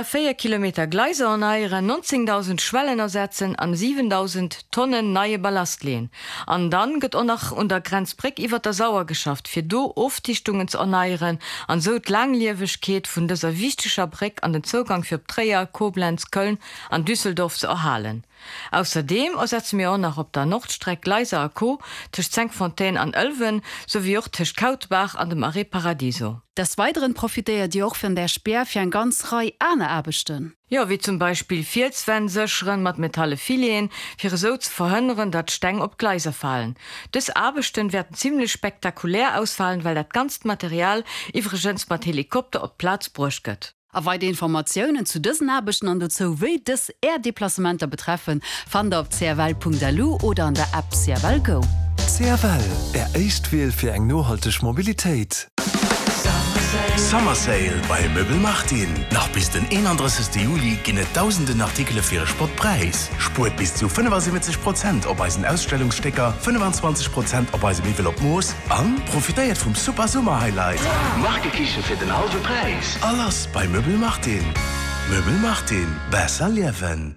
4 Kilometer Gleiser erneieren, 19.000 Schwellen ersetzen an 7.000 Tonnen neie Ballast leeën. An dann gëtt och nach un der Grenzbréck iwwert der Sauer geschafft, fir do Ofdichtungen ze erneieren an sou d'Laangliewegkeet vun dëser wichteger Bréck an den Zougang fir op Tréier, Koblenz, Köln an Düsseldorf ze erhalen. Ausserdeem ersetze mir och nach op der Nordstreck Gleiser a Co tëscht Cinqfontaines an Ëlwen, souwéi och tëscht Kautebaach an dem Arrêt Paradiso. Des Weideren profitéiert Dir och vun där Spär fir eng ganz Rei aner Aarbechten. Jo, wéi zum Beispill Fielswänn sécheren mat metalle Fileten, fir esou ze verhënneren, datt Steng op d'Gleiser falen. Dës Aarbechten wäerten zimlech spektakulär ausfalen, well dat ganzt Material iwwregens mat Helikopter op d'Plaz bruecht gëtt. A weider Informatiounen zu dësen Aarbechten an dozou, wéi dës Är Deplacementer betreffen, fannt der op cfl.lu oder an der App CFL Go. CFL, Är éischt Wiel fir eng nohalteg Mobilitéit. Summer Sale bei Möbel Martin! Nach bis den 31. Juli ginn et dausenden Artikele fir e Spottpräis. Spuert bis zu 75 Prozent op eisen Ausstellungsstécker, 25 Prozent op eise Miwwel op Mooss an profitéiert vum super Summer Highlight, Markekiche fir den hallwe Präis! A lass bei Möbel Martin! Möbel Martin, besser liewen!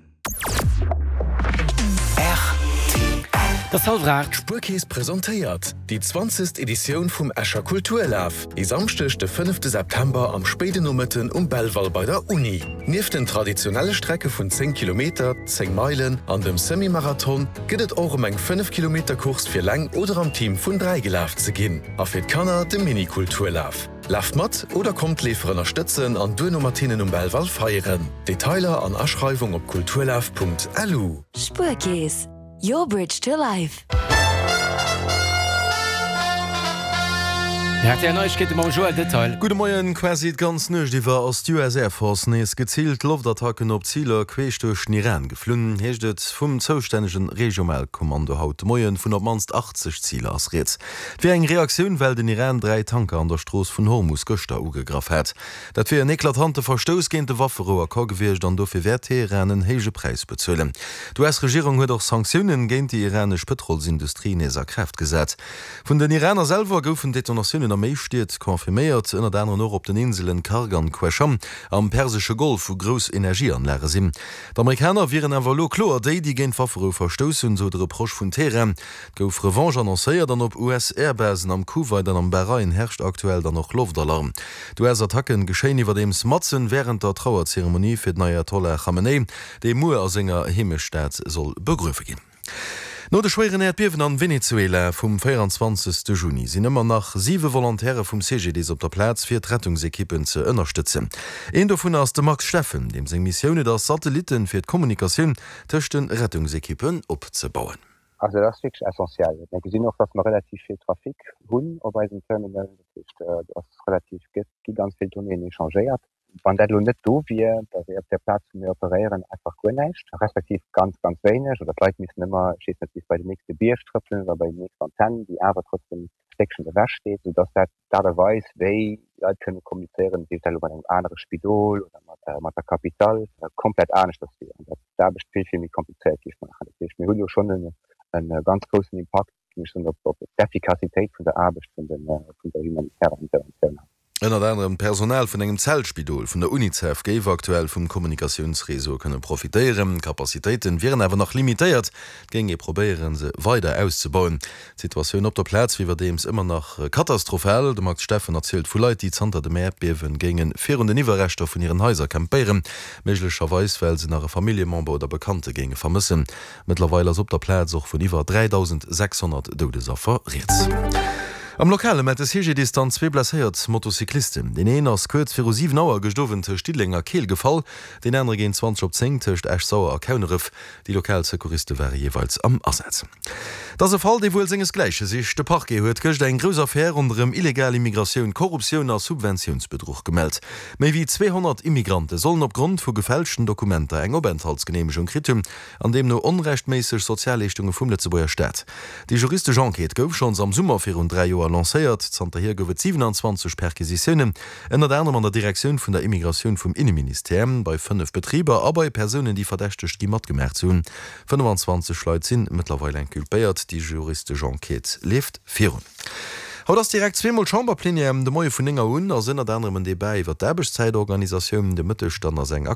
Et ass hallwer 8. D'Spuerkeess presentéiert déi zwanzegst Editioun vum Escher Kulturlaf, e Samschdeg de fënnefte September am spéiden Nomëtten um Belval bei der Uni. Nieft den traditionelle Strecke vun 10 Kilometer, 10 Meilen an dem Semi-Marathon gëtt et och erëm eng 5 Kilometer Course fir leng oder am Team vun 3 gelaf ze ginn a fir d'Kanner de Mini-Kulturlaf. Laaft mat oder kommt d'Leefer ënnerstëtzen an duerno mat hinnen um Belval feieren. Detailer an Aschreiwung op kulturlaf.lu. Spuerkeess, your bridge to life. Rtl Neiegkeete mam Joël Detail. Gudde Moien, Quasi d'ganz Nuecht iwwer ass d'US Air Force nees geziilt Loftattacken op Ziler queesch duerch den Iran geflunn, heescht et vum zoustännegen Regionalkommando haut de Moien. Vun op d'mannst 80 Ziler ass rieds. Et wier eng Reaktioun, well den Iran 3 Tanker an der Strooss vun Hormus gëschter ugegraff hat. Dat wier en eklatante Verstouss géint de Wafferou-Accord gewiescht an dofir wäert Teheran en héije Präis bezuelen. D'US-Regierung huet och Sanktiounen géint déi iranesch Pëtrolsindustrie nees a Kraaft gesat. Vun den Iraner selwer goufen Detonatiounen a méi Stied confirméiert, ënnert aneren och op den Inselen Kharg an Qeshm am persesche Golf, wou grouss Energieanlage sinn. D'Amerikaner wieren awer elo kloer déi, déi géint d'Wafferou verstouss hunn, sou de Reproche vun Teheran. Et gouf Revanche annoncéiert an op US-Airbasen am Kuwait an am Bahrain herrscht aktuell dann och Loftalarm. D'US-Attacken geschéien iwwerdeems matzen wärend der Trauerzeremonie fir den Ayatollah Khamenei, dee muer a senger Heemechtsstad soll begruewe ginn. No de schwéieren Äerdbiewen an Venezuela vum 24. Juni sinn ëmmer nach siwe Volontaire vum CGDIS op der Plaz fir d'Rettungsekippen ze ënnerstëtzen. Een dovunner ass de Max Steffen, deem seng Missioun et ass, Satellitten fir d'Kommunikatioun tëscht de Rettungsekippen opzebauen. Also dat ass wierklech essentiell. Mir gesinn och, dass mer relativ vill Trafic hunn op eisem Terminal. Dat heescht, do ass relativ, gëtt, gi ganz vill Donnéeën échangéiert. Wann dat elo net do wier, da wier op där Plaz, wou mir operéieren, einfach guer näischt, respektiv ganz, ganz wéineg. Oder d'Leit missten ëmmer, ech weess net, bis bei den nächste Bierg trëppelen oder bei déi nächst Antenn, déi awer trotzdem e Stéckchen ewech steet, soudass dat d'Aart a Weis, wéi Leit kënne kommunizéieren, sief dat elo mat engem anere Spidol oder mat, mat der Capitale, komplett aneschters wier an dat d'Aarbecht vill, vill méi komplizéiert géif maachen. Dat heescht, mir hunn do schonn e ganz groussen Impakt, géif ech soen, op, op d'Effikassitéit vun der Aarbecht vun de, vun der humanitärer Interventioun. Ënnert anerem d'Personal vun engem Zeltspidol vun der Unicef géif aktuell vum Kommunikatiounsreseau kënne profitéieren. D'Capacitéiten wieren awer nach limitéiert, et géing ee probéieren, se weider auszebauen. D'Situatioun op der Plaz wier iwwerdeems ëmmer nach katastrophal. De Max Steffen erzielt vu Leit, déi zanter dem Äerdbiewe géinge virun den Iwwerreschter vun hiren Haiser campéieren, méiglecherweis well se nach e Familljemember oder Bekannte géinge vermëssen. Mëttlerweil ass op der Plaz och vun iwwer 3.600 Doudesaffer rieds. Am Lokale mellt de CGDIS dann zwee blesséiert Motocyclisten. Deen een ass kuerz viru 7 Auer gëscht Owend tëscht Diddeleng a Keel gefall, deen anere géint 20 op 10 tëscht Esch-Sauer a Kauneref. Déi lokal Secouriste ware jeeweils am Asaz. Et ass e Fall, dee wuel sengesgläiche sicht. De Parquet huet gëscht eng grouss Affär ronderëm illegal Immigratioun, Korruptioun a Subventiounsbedruch gemellt. Méi wéi 200 Immigrante sollen opgrond vu gefälschten Dokumenter eng Openthaltsgeneemegung kritt hunn an deemno onrechtméisseg Sozialleeschtunge vum Lëtzebuerger Staat. Déi juristesch Enquête gouf schonns am Summer virun 3 Joer lancéiert. Zanterhier gouf et 27 Perquisitiounen, ënnert anerem an der Direktioun vun der Immigratioun vum Inneministère, bei 5 Betriber a bei Persounen, déi verdächtegt gi matgemaach ze hunn. 25 Leit sinn mëttlerweil inculpéiert. Déi juristesch Enquête leeft virun. Haut ass direkt zweemol Chamberplenière. De Moie vun 9 Auer un ass ënnert anerem en Debat iwwer d'Aarbechtszäitorganisatioun. De Mëtteg dann ass eng.